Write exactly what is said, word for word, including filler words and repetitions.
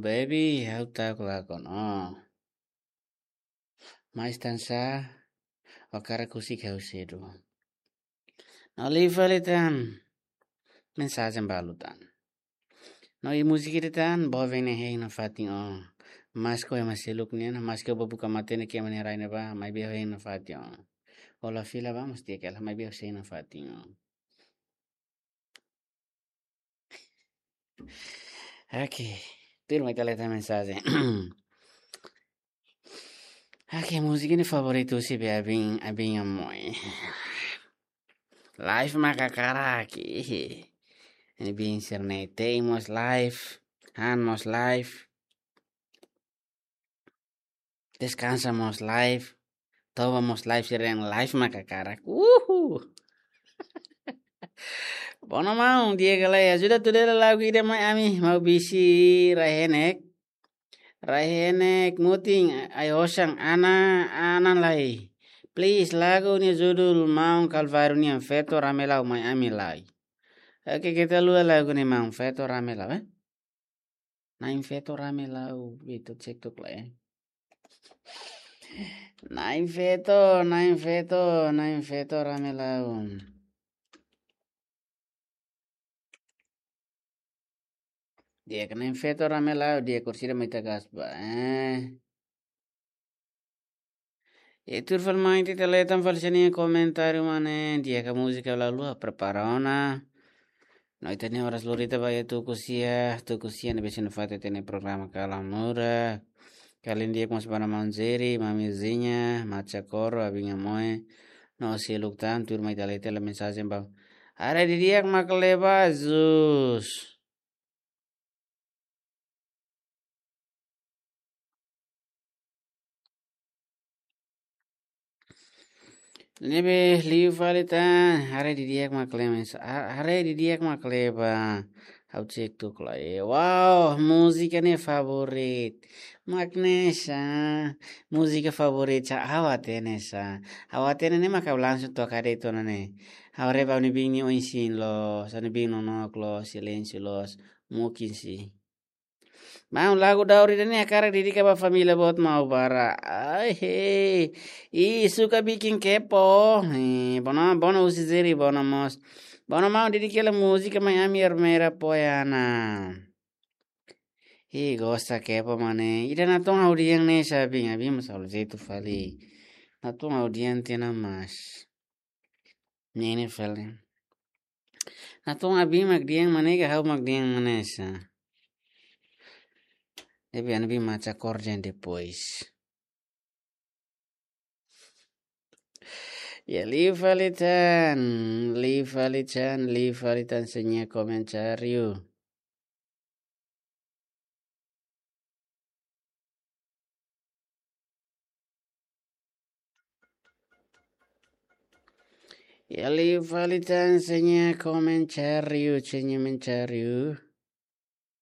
Baby, ha'u ta'uk lakon ó. Mas tansá, ó hakarak husik ha'u sedu. No liu fali tan, mensajen balu tan. No iha múzika ida tan, boven ne'e hein nafatin ó. Maske ó ema seluk nian, maske ó buka matenek iha ema nia rai ne'ebá, maibé ó hein nafatin ó. Ó la fila ba, mós di'ak hela, maibé ó sei nafatin ó. Oke, tuirmai ita lee tan mensajen. Oke, múzika ne'e favoritu husi be abin, abin amoi. Live maka hakarak, ih. Ne'ebé sira-ne'e, Tei mós live, Han mós live. Deskansa mós live, Toba mós live, sira-ne'e live maka hakarak. Uhu. Bona maun, di'ak ka lae, ajuda tuda hela lagu ida mai ami, Maubisi Rai-Henek. Rai-Henek Mutin, ai-osan, Ana, Ana Lai. Please, lagu nia judul Maun Kalváriu nian, Feto Ramelau mai ami lai. Oke, keta haluha lagu ne'e maun, Feto Ramelau, eh? Na'in Feto Ramelau, ita cek tok lae, eh? Na'in Feto, Na'in Feto, Na'in Feto Ramelau. Di'ak, Na'in Feto Ramelau, di'ak, orsida mai ita gas ba, eh? E tuir fali mai ita lee tan fali sira-nia komentáriu mane, di'ak ka múzika la haluha, prepara ona. No ita-nia oras lori ita ba iha tuku sia, tuku sia ne'ebé sei nafatin ita-nia programa Kalamura. Kalan di'ak mós ba maun Jerry, mami Zinha, Macha Koro, abin amoi. No seluk tan, tuirmai ita lee tan mensajen ba. Haree didi'ak mak leba, Zus. Ne'ebé liu fali tan, haree didi'ak mak leba, ha-, haree di'ak mak leba. Ha'u cek tok lae. Wow, múzika ne'e favorit. Mak ne'e sá, múzika favorit sá, ha'u hatene sá. Ha'u hatene ne'e mak ha'u langsung toka de'it ona ne'e. Ha'u haree ba ne'ebé nia oin-sein loos, ne'ebé nonook loos, silénsiu loos, mungkin sih. Maun, lagu daur ida-ne'e hakarak dedika ba família boot Maubara. Ai, hei. Ih, suka bikin kepo. Hei, bona, bona husi Jerry, bona mós. Bona maun, dedika hela múzika mai ami Ermera Poyana. Ih, gosta kepo mane. Ida natoon ha'u dehan ne'e sá abin, abin mós halo jeitu fali. Natoon ha'u dehan tiha ona mas. Ne'e ne'e fali. Natoon abin mak dehan mane ka ha'u mak dehan mane sá. Ne'ebé abin Macha Koro dehan depois. Ya, liu fali tan, liu fali tan, liu fali tan sira-nia komentáriu. Ya, liu fali tan sira-nia komentáriu, sira-nia komentáriu.